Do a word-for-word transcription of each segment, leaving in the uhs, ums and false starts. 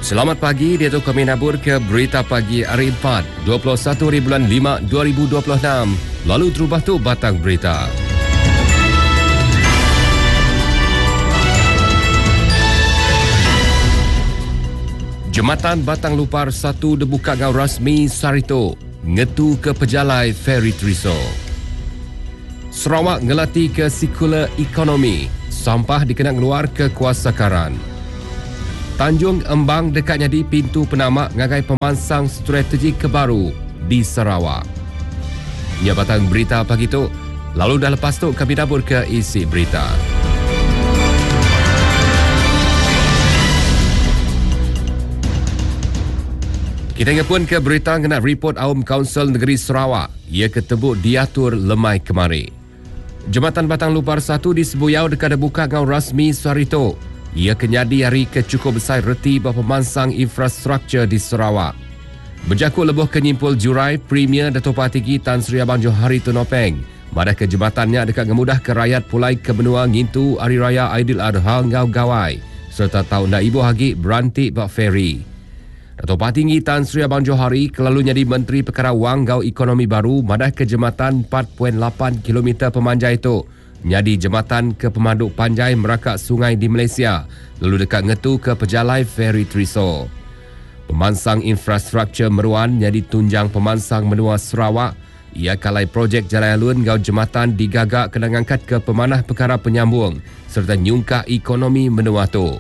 Selamat pagi, dia tu kami nabur ke Berita Pagi hari empat, dua puluh satu hari bulan lima dua ribu dua puluh enam. Lalu terubah tu batang berita. Jematan Batang Lupar satu dibuka ngau rasmi Sarito, ngetu ke pejalai Feri Triso. Sarawak ngelati ke sekular ekonomi, sampah dikena ngeluar ke kuasa karan. Tanjung Embang dekat jadi pintu penamak ngagai pemansang strategi kebaru di Sarawak. Nya batang berita pagi tu, lalu dah lepas tu kami dapur ke isi berita. Kita ngepun ke berita kena report Aum Kaunsil Negeri Sarawak. Ia ketebuk diatur lemai kemari. Jematan Batang Lupar satu di Sebuyau dekat dibuka ngau rasmi Sarito. Ia kenyadi hari ke cukup besar reti bapa pemansang infrastruktur di Sarawak. Berjakut lebuh kenyimpul jurai Premier Dato' Patinggi Tan Sri Abang Johari Tun Openg. Madah ke jembatannya dekat ngemudah ke rakyat pulai ke benua ngintu Hari Raya Aidil Adha ngau gawai serta tau nak ibu hagi berantik bak feri. Dato' Patinggi Tan Sri Abang Johari kelalu jadi Menteri Perkara Wang Gau Ekonomi Baru madah ke jembatan empat perpuluhan lapan kilometer pemanjai itu jadi jembatan ke pemaduk panjai merakak sungai di Malaysia lalu dekat ngetu ke pejalai Feri Triso. Pemansang infrastruktur meruan jadi tunjang pemansang menua Sarawak. Ia kalai projek Jalan Alun gau jembatan digagak kena ngangkat ke pemanah perkara penyambung serta nyungkak ekonomi menua tu.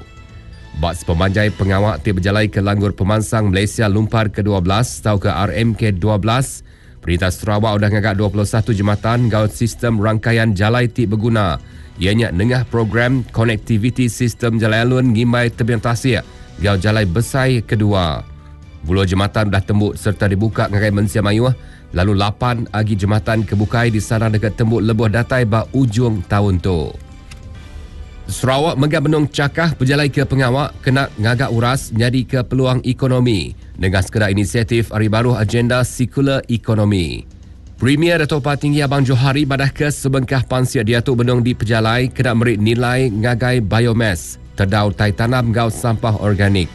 Bak sepemanjai pengawak ti berjalai ke Langgur Pemansang Malaysia Lumpar ke dua belas atau ke R M K dua belas, Perintah Sarawak sudah ngagak dua puluh satu jembatan gau sistem rangkaian jalai ti berguna. Ianya nengah program konektiviti sistem jalai alun ngimbai tebing tasik gau jalai besai kedua. Buluh jembatan dah tembuk serta dibuka ngagai mensia mayuh, lalu lapan agi jembatan kebukai di sana dekat tembuk lebuh datai ba ujung tahun tu. Sarawak megah benung cakah berjalai ke pengawak kena ngagak uras nyadi ke peluang ekonomi dengan sekadar inisiatif hari baru agenda sekular ekonomi. Premier Dato' Patinggi Abang Johari madah ke sebengkah pansia dia tu benung di pejalai kena merik nilai ngagai biomass terdau tai tanam gau sampah organik.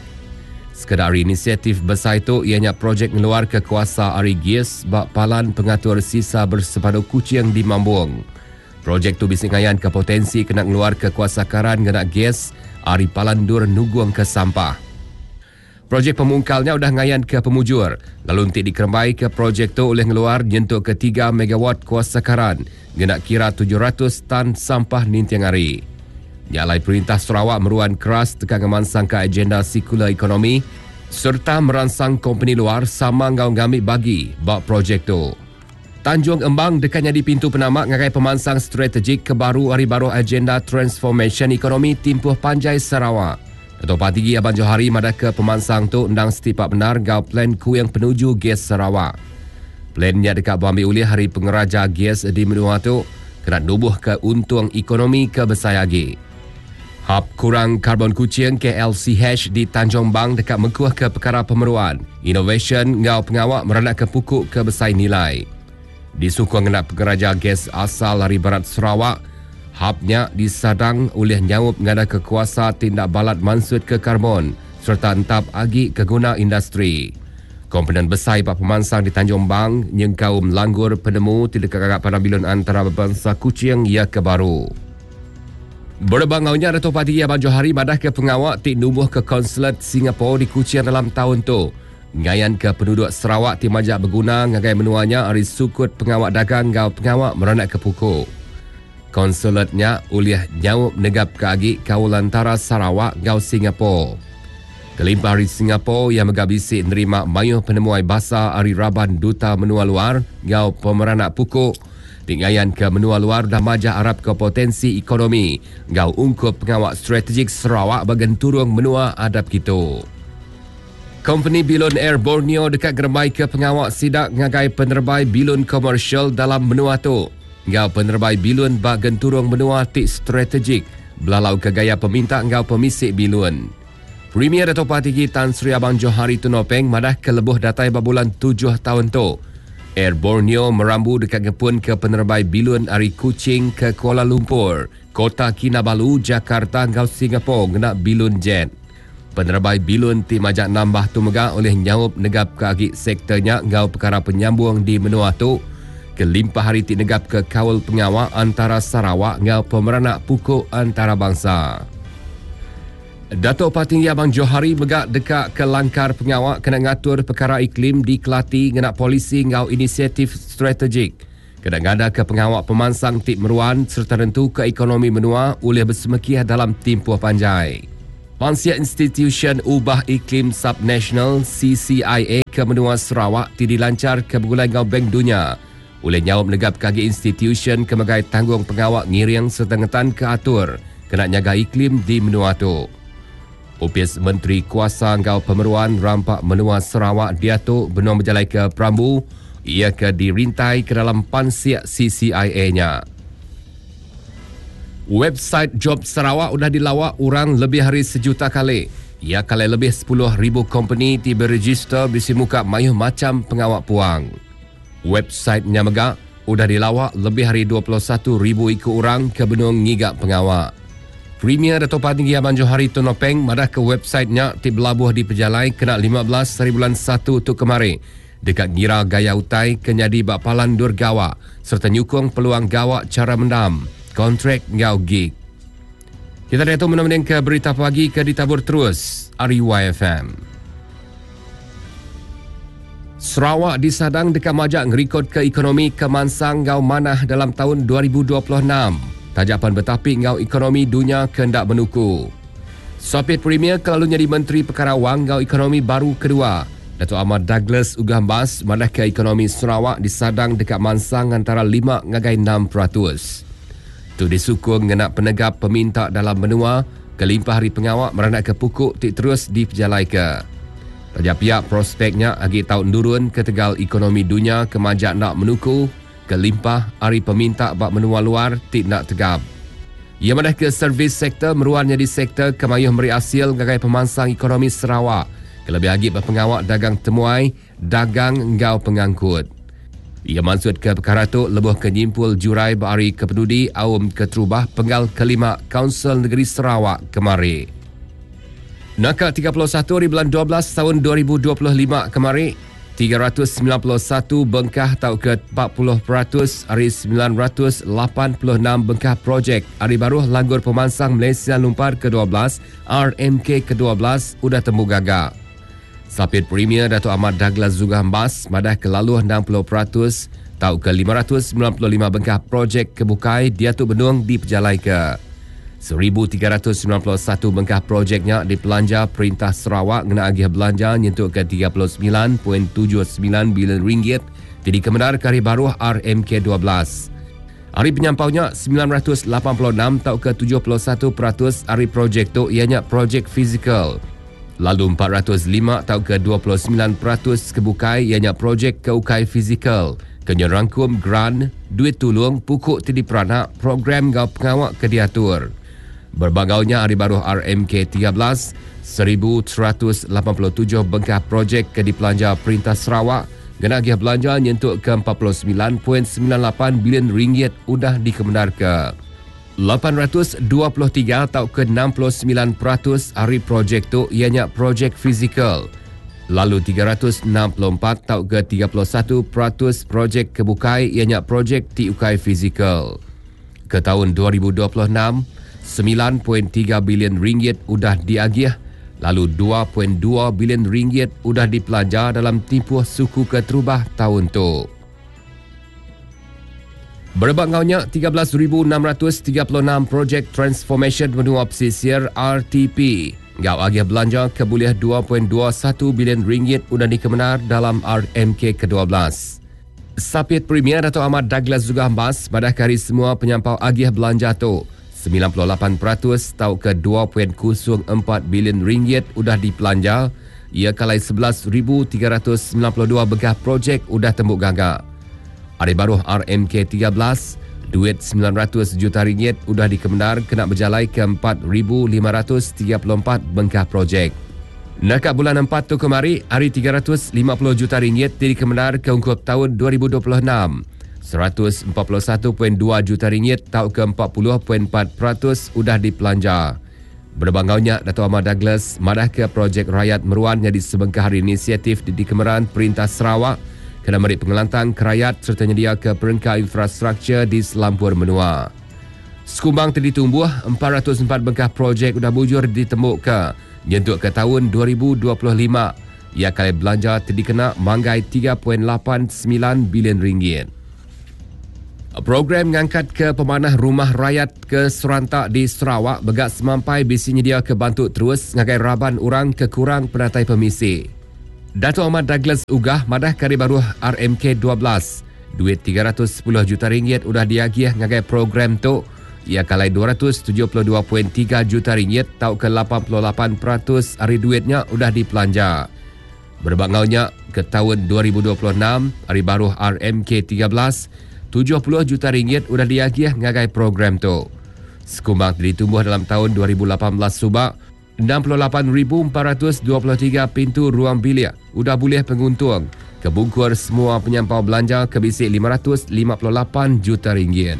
Sekadar inisiatif besar itu ianya projek ngeluar ke kuasa ari gas bak palan pengatur sisa bersepadu kucing di Mambung. Projek tu bising ngayan ke potensi kena ngeluar ke kuasa karan ngena gas ari palan dur nuguang ke sampah. Projek pemungkalnya udah ngayan ke pemujur. Lalu nanti dikerembai ke projek tu oleh ngeluar nyentuk ke tiga megawatt kuasa karan ngena kira tujuh ratus tan sampah nintiang hari. Nyalai perintah Sarawak meruan keras tekan ngemansang ke agenda sekular ekonomi serta merangsang kompeni luar sama ngau ngambil bagi bak projek tu. Tanjung Embang dekat jadi pintu penamak ngagai pemansang strategik ke baru hari baru agenda transformation ekonomi timpuh panjai Sarawak. Dato' Patinggi Abang Johari madah ke pemansang tu endang setipak benar gau plan ku yang penuju gas Sarawak. Plannya dekat berambil ulih hari pengeraja gas di menua tu kena nubuh ke untung ekonomi ke besar lagi. Hub kurang karbon kucing K L C H di Tanjung Bang dekat mengkuh ke perkara pemeruan, innovation ngau pengawak meranak ke pukuk ke besar nilai. Disukung kena pengeraja gas asal dari Barat Sarawak, hubnya disadang oleh nyaup ngada kekuasa tindak balat mansut ke karbon serta entap agi ke guna industri. Komponen besar bak pemansang di Tanjung Bang nyengkaum langgur penemu tidak kagak pada bilon antara bangsa kucing ia ke baru. Berbangaunya Dato' Patinggi Abang Johari madah ke pengawak ti numbuh ke konsulat Singapura di Kuching dalam tahun tu. Ngayan ke penduduk Sarawak ti majak berguna ngagai menuanya ari sukut pengawak dagang ngau pengawak meranak ke pukul. Konsulatnya uliah nyaup negap ke agi kaul antara Sarawak ngau Singapura. Kelimpah ari Singapura yang megabisi nerima mayuh penemuai basa ari raban duta menua luar ngau pemeranak pukul. Tingayan ke menua luar dah majah Arab ke potensi ekonomi ngau ungkup pengawak strategik Sarawak bagian turung menua adab kita. Company Bilon Air Borneo dekat germai ke pengawak sidak ngagai penerbai bilon komersial dalam menua tu. Ngau penerbai bilon bagian turung menua tik strategik belalau ke gaya peminta ngau pemisik bilon. Premier Dato' Patinggi Tan Sri Abang Johari Tun Openg madah ke lebuh datai berbulan tujuh tahun tu. Air Borneo merambu dekat ngepun ke penerbai bilon ari Kuching ke Kuala Lumpur, Kota Kinabalu, Jakarta ngau Singapura ngena bilon jet. Penerebai bilun ti majak nambah tu mega oleh nyaup negap ke agi sektornya ngau perkara penyambung di menua tu kelimpah hari ti negap ke kaul pengawal antara Sarawak ngau pemeranak pukul antarabangsa. Datuk Patinggi Abang Johari mega dekat ke langkar pengawal kena ngatur perkara iklim di Kelati ngena polisi ngau inisiatif strategik. Kena ngada ke pengawal pemansang ti meruan serta tentu ke ekonomi menua oleh bersemekiah dalam tempoh panjai. Pansia Institution Ubah Iklim Subnational C C I A ke menua Sarawak ti dilancar ke Begulai ngau Bank Dunia. Oleh nyaup negap kagi institution ke megai tanggung pengawal ngiring serta ngetan ke atur kena nyaga iklim di menua tu. Upis Menteri Kuasa Ngau Pemeruan Rampak Menua Sarawak diatu benua berjalai ke Perambu ia ke dirintai ke dalam pansiak C C I A-nya. Website Job Sarawak sudah dilawak orang lebih hari sejuta kali. Ia kali lebih sepuluh ribu company ti beregister bisi muka mayuh macam pengawak puang. Website-nya mega sudah dilawak lebih hari dua puluh satu ribu ikut orang ke benung ngigak pengawak. Premier Dato' Patinggi Abang Johari Tun Openg madah ke website-nya ti belabuh di pejalai kena lima belas hari bulan satu tu kemari. Dekat ngira gaya utai kenyadi bak palan dur gawak serta nyukung peluang gawak cara mendam, kontrak ngau gig. Kita dah tu menemani ke berita pagi ke ditabur terus R U Y F M. Sarawak disadang dekat majak ngerikod ke ekonomi kemansang ngau manah dalam tahun dua ribu dua puluh enam. Tajapan bertapik ngau ekonomi dunia kendak menuku. Sopit Premier kelalu jadi Menteri Perkara Wang ngau ekonomi baru kedua. Datuk Ahmad Douglas Uggah Embas madah ke ekonomi Sarawak disadang dekat mansang antara lima ngagai enam peratus. Tu disukung ngena penegap peminta dalam menua kelimpah hari pengawak meranak ke pukuk ti terus dipejalai ke. Raja pihak prospeknya agi tau nurun ke tegal ekonomi dunia kemajak nak menuku kelimpah hari peminta bak menua luar ti nak tegap. Ia madah ke servis sektor meruannya di sektor kemayuh meri hasil gagai pemansang ekonomi Sarawak. Kelebih lagi pengawak dagang temuai, dagang enggau pengangkut. Ia maksud ke perkara tu lebuh ke nyimpul jurai berari ke pedudi awam keterubah penggal kelima Kaunsil Negeri Sarawak kemari. Naka tiga puluh satu hari bulan dua belas tahun dua ribu dua puluh lima kemari, tiga ratus sembilan puluh satu bengkah tau ke empat puluh peratus hari sembilan ratus lapan puluh enam bengkah projek hari baruh langgur pemansang Malaysia Lumpar ke dua belas R M K ke dua belas udah temu gagak. Sapit Premier Datuk Ahmad Douglas Uggah Embas madah ke laluh enam puluh peratus tau ke lima ratus sembilan puluh lima bengkah projek kebukai dia tu benung dipejalai ke. seribu tiga ratus sembilan puluh satu bengkah projeknya dipelanja Perintah Sarawak ngena agih belanja nyentuk ke tiga puluh sembilan perpuluhan tujuh sembilan bilion ringgit jadi kemenar ke hari baruh R M K dua belas. Hari penyampaunya sembilan ratus lapan puluh enam tau ke tujuh puluh satu peratus hari projek tu ianya projek fizikal. Lalu empat ratus lima tau ke dua puluh sembilan peratus kebukai ianya projek keukai fizikal. Kena rangkum grant, duit tulung, pukuk tidi peranak, program gau pengawak ke diatur. Berbagaunya hari baru R M K tiga belas, seribu seratus lapan puluh tujuh bengkah projek ke dipelanja Perintah Sarawak, kena agih belanja nyentuk ke empat puluh sembilan perpuluhan sembilan lapan bilion ringgit udah dikemenar ke. lapan ratus dua puluh tiga atau ke enam puluh sembilan peratus hari projek tu ianya projek fizikal. Lalu tiga ratus enam puluh empat atau ke tiga puluh satu peratus projek kebukai ianya projek T U K I fizikal. Ke tahun dua ribu dua puluh enam, sembilan perpuluhan tiga bilion ringgit udah diagih, lalu dua perpuluhan dua bilion ringgit udah dipelanja dalam tempoh suku keterubah tahun tu. Berebak ngaunya tiga belas ribu enam ratus tiga puluh enam projek Transformation Menua Pesisir R T P. Ngau agih belanja kebuliah dua perpuluhan dua satu bilion ringgit udah dikemenar dalam R M K ke dua belas. Sapit Premier Dato' Ahmad Douglas Uggah Embas pada hari semua penyampau agih belanja tu sembilan puluh lapan peratus tau ke dua perpuluhan kosong empat bilion ringgit udah dipelanja. Ia kalai sebelas ribu tiga ratus sembilan puluh dua bekas projek udah tembuk gagak. Hari baruh R M K tiga belas, duit sembilan ratus juta ringgit udah dikemenar kena berjalai ke empat ribu lima ratus tiga puluh empat bengkah projek. Nakak bulan empat tu kemari, hari tiga ratus lima puluh juta ringgit dikemenar ke ungkup tahun dua ribu dua puluh enam. seratus empat puluh satu perpuluhan dua juta ringgit tau ke empat puluh perpuluhan empat peratus udah dipelanja. Berbangaunya Dato' Amar Douglas madah ke projek rakyat meruan jadi sebengkah hari inisiatif di Kemeran Perintah Sarawak kena meri pengelantang ke rakyat serta nyedia ke perengka infrastruktur di Selampur Menua. Sekumbang tadi tumbuh empat ratus empat bengkah projek udah bujur ditemuka nyentuk ke tahun dua ribu dua puluh lima. Ia kali belanja tadi kena manggai tiga perpuluhan lapan sembilan bilion ringgit. Program ngangkat ke pemanah rumah rakyat ke serantak di Sarawak begak semampai bisi nyedia ke bantu terus ngagai raban orang ke kurang penatai pemisi. Dato' Ahmad Douglas Uggah madah kari baruh R M K dua belas. Duit tiga ratus sepuluh juta ringgit udah diagih ngagai program tu. Ia kalai dua ratus tujuh puluh dua perpuluhan tiga juta ringgit tau ke lapan puluh lapan peratus hari duitnya udah dipelanja. Berbangaunya ke tahun dua ribu dua puluh enam hari baruh R M K tiga belas, tujuh puluh juta ringgit udah diagih ngagai program tu. Sekumbang ditumbuh dalam tahun dua ribu lapan belas subak, enam puluh lapan ribu empat ratus dua puluh tiga pintu ruang bilik udah boleh penguntung. Kebungkur semua penyampau belanja ke bisik lima ratus lima puluh lapan juta ringgit.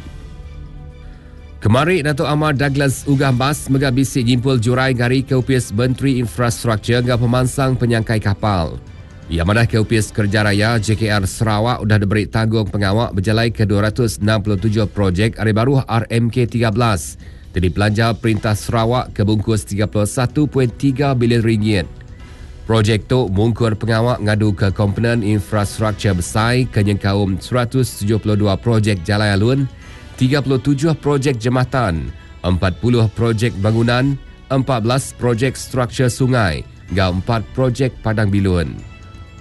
Kemari Dato' Amar Douglas Uggah Embas mega bisik jimpul jurai gari ke Upis Menteri Infrastruktur ngau pemansang penyangkai kapal. Ia madah ke Upis Kerja Raya J K R Sarawak udah diberi tanggung pengawak berjalai ke dua ratus enam puluh tujuh projek hari baru R M K tiga belas. Jadi belanja Perintah Sarawak ke bungkus tiga puluh satu perpuluhan tiga bilion ringgit. Projek tu mungkur pengawak ngadu ke komponen infrastruktur besar ke nyengkaum seratus tujuh puluh dua projek jalai alun, tiga puluh tujuh projek jematan, empat puluh projek bangunan, empat belas projek struktur sungai, hingga empat projek padang bilun.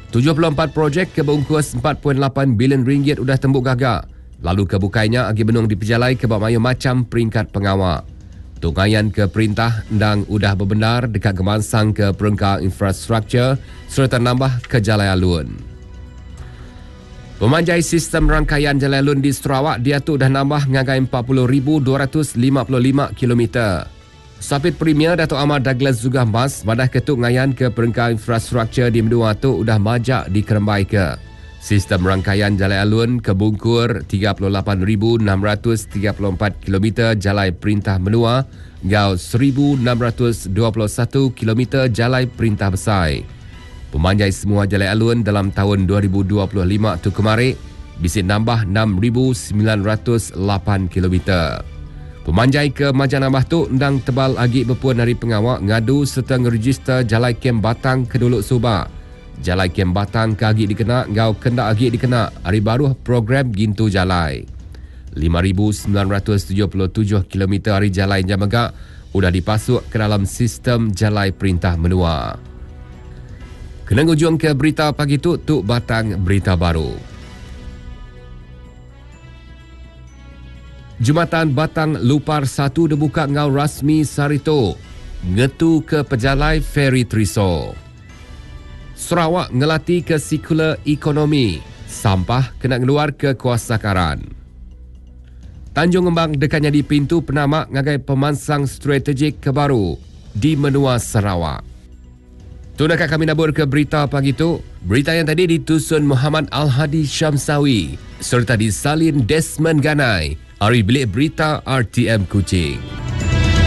tujuh puluh empat projek kebungkus empat perpuluhan lapan bilion ringgit udah tembuk gagak. Lalu kebukainya agi benung dipejalai ke bak mayu macam peringkat pengawak. Tungayan ke perintah endang udah berbenar dekat gemansang ke perengka infrastruktur serta nambah ke jalai alun. Pemanjai sistem rangkaian jalai alun di Sarawak dia tu dah nambah ngagai empat puluh ribu dua ratus lima puluh lima kilometer. Sapit Premier Dato' Amar Douglas Uggah Embas madah ketuk ngayan ke perengka infrastruktur di menua tu udah majak dikerembai ke. Sistem rangkaian jalai alun kebungkur tiga puluh lapan ribu enam ratus tiga puluh empat kilometer jalai perintah menua ngau seribu enam ratus dua puluh satu kilometer jalai perintah besar. Pemanjai semua jalai alun dalam tahun dua ribu dua puluh lima tu kemari bisik nambah enam ribu sembilan ratus lapan kilometer. Pemanjai ke Majan Nambah tu endang tebal agi berpuan hari pengawak ngadu serta ngeregister jalai kem Batang ke Dolok Subak. Jalai kem Batang ke agi dikena ngau kendak agi dikena hari baru program Gintu Jalai. lima ribu sembilan ratus tujuh puluh tujuh kilometer hari jalai Jamegak udah dipasuk ke dalam sistem jalai perintah menua. Kena ngujung ke berita pagi tu, tu Batang Berita Baru. Jumatan Batang Lupar satu dibuka ngau rasmi Sarito. Ngetu ke pejalai Ferry Triso. Sarawak ngelati ke sekular ekonomi. Sampah kena ngeluar ke kuasa karan. Tanjung Ngembang dekatnya di pintu penamak ngagai pemansang strategik ke baru di menua Sarawak. Tu nak kami nabur ke berita pagi tu. Berita yang tadi ditusun Muhammad Al-Hadi Syamsawi serta disalin Desmond Ganai. Ari Bilik Berita R T M Kuching.